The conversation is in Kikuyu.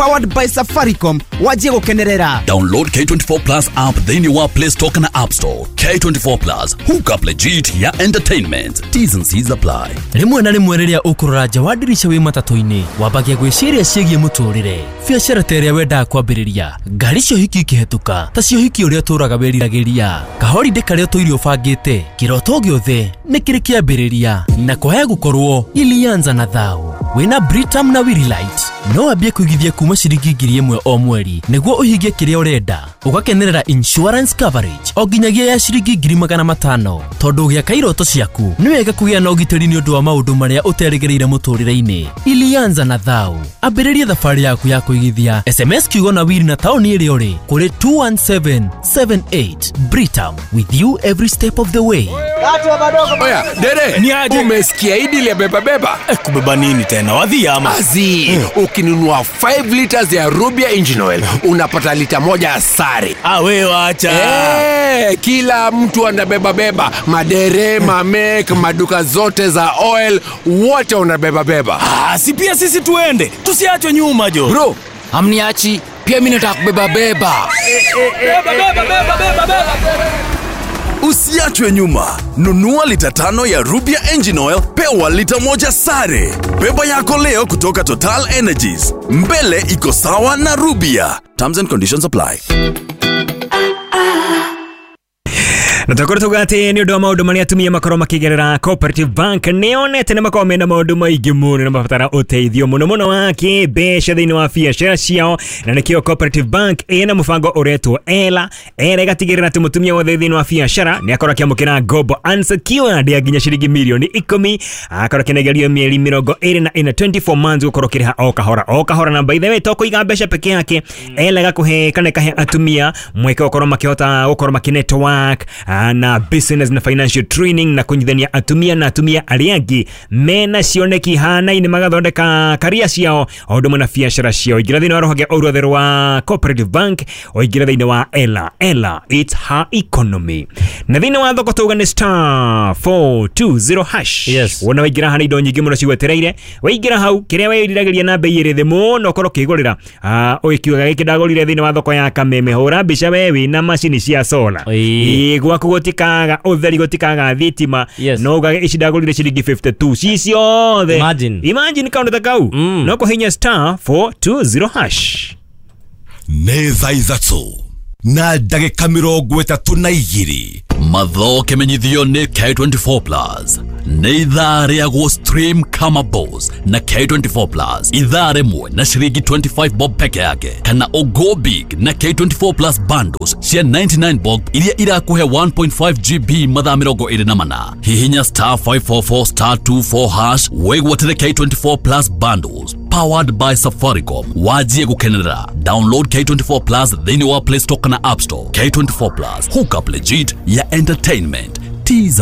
Powered by Safaricom, wanjie gũkenerera. Download K24 Plus app thĩinĩ wa Play Store kana App Store. K24 Plus, hook up legit ya entertainment. T's and C's apply. Rĩmwe na rĩmwe rĩrĩa ũkũrora nja wa ndirica wĩ matatũ-inĩ, wambagia gwĩciria ciĩgiĩ mũtũrĩre, biacara ta ĩrĩa wendaga kwambĩrĩria, ngari cia ũhiki ikĩhetũka ta cia ũhiki ũrĩa ũtũraga wĩriragĩria, kahorindĩ karĩa ũtũire ũbangĩte, kĩroto gĩothe nĩ kĩrĩ kĩambĩrĩria, na kwaya gũkorwo ilianza na thao. Wĩna Britam na Willight no wambie kũigithia kuma ciringi 1,000 o mweri nĩguo ũhingie kĩrĩa ũrenda, ũgakenerera insurance coverage o nginyagia ya ciringi 500,000, tondũ ũgĩaka iroto ciaku nĩ wega kũgĩa na ũgitĩri nĩ ũndũ wa maũndũ marĩa ũterĩgĩrĩire mũtũrĩre-inĩ. Ilianza na thao, ambĩrĩria thabarĩ yaku ya kũigithia. SMS kiugo na wiri na taũni ĩrĩa ũrĩ kũrĩ 21778. Britam, with you every step of the way. Oya, dere, umesikia hii deal ya beba beba? Kubeba nini tena? Wadhi ama? Azi, ukinunua 5 liters ya Rubia engine oil, unapata lita 1 sare. Ah, we wacha. Kila mtu anabeba beba, madere, mamek, maduka zote za oil, wote wanabeba beba. Ah, si pia sisi tuende, tusiachwe nyuma jo. Bro, amniachi, pia mimi nataka kubeba beba. Beba beba beba beba beba. Usiachwe nyuma. Nunua lita 5 ya Rubia engine oil, pewa lita 1 sare. Beba yako leo kutoka Total Energies. Mbele iko sawa na Rubia. Terms and conditions apply. Na tũkorwo tuga atĩ nĩ ũndũ wa maũndũ marĩa atumia makorwo makĩgerera, Cooperative Bank nĩyonete nĩ makorwo mena maũndũ maingĩ mũno na mabatara ũteithio mũno mũno wa kĩmbeca thĩinĩ wa biacara ciao, na nĩkĩo Cooperative Bank ĩna mũbango ũretwo Ela. Ela ĩgatigĩrĩra atĩ mũtumia wothe thĩinĩ wa biacara nĩ akorwo akĩamũkĩra ngombo unsecured ya nginya ciringi mirioni 10, akorwo akĩnengerio mĩeri 24, 24 months, gũkorwo ũkĩrĩha o kahora o kahora. Na by the way, to kũiga mbeca peke yake, Ela ĩgakũhe kana ĩkahe atumia mweke gũkorwo makĩhota gũkorwo makĩ network na business na financial training, na kunyithania atumia na atumia arĩa angĩ mena cioneki hanaine, magathondeka karia ciao o ũndũ ũmwe na biacara ciao. Ingĩra thĩinĩ wa rũhonge o ruothe rwa Cooperative Bank, o ingĩra thĩinĩ wa Ela. Ela, it's her economy. Na thĩinĩ wa thoko tauga nĩ star 420 hash. Yes. Wona waingĩra haha indo nyingĩ mũno cigwetereire, waingĩra hau kĩrĩa wĩriragĩria na bei ĩrĩ thĩ mũno ũkorwo ũkĩgũrĩra. Ũgĩkiuga gĩkĩ ndagũrire thĩinĩ wa thoko ya Kameme, hũra mbica we wĩna macini cia solar. Gwaku gũtikaga ũtheri, gũtikaga thitima. Yes. No ugage ici ndagũrire ciringi 52 ci ciothe. Imagine kaũndũ ta kau. No kũhinya star 420 hash. Nĩ thaa 3 na ndagĩka 32. Matho kĩmenyithio nĩ K24 Plus. Nĩ ithaa rĩa gũ stream kama boss na K24 Plus. Ithaa rĩmwe na ciringi 25 bob peke yake, kana o go big na K24 Plus bundles cia 99 bob iria irakũhe 1.5 GB mathaa 24. Hihinya star 544 star 24 hash wĩgwatĩre K24 Plus bundles powered by Safaricom. Wajie gũkenerera. Download K24 Plus thĩinĩ wa Play Store kana App Store. K24 Plus, hook up legit ya entertainment. T's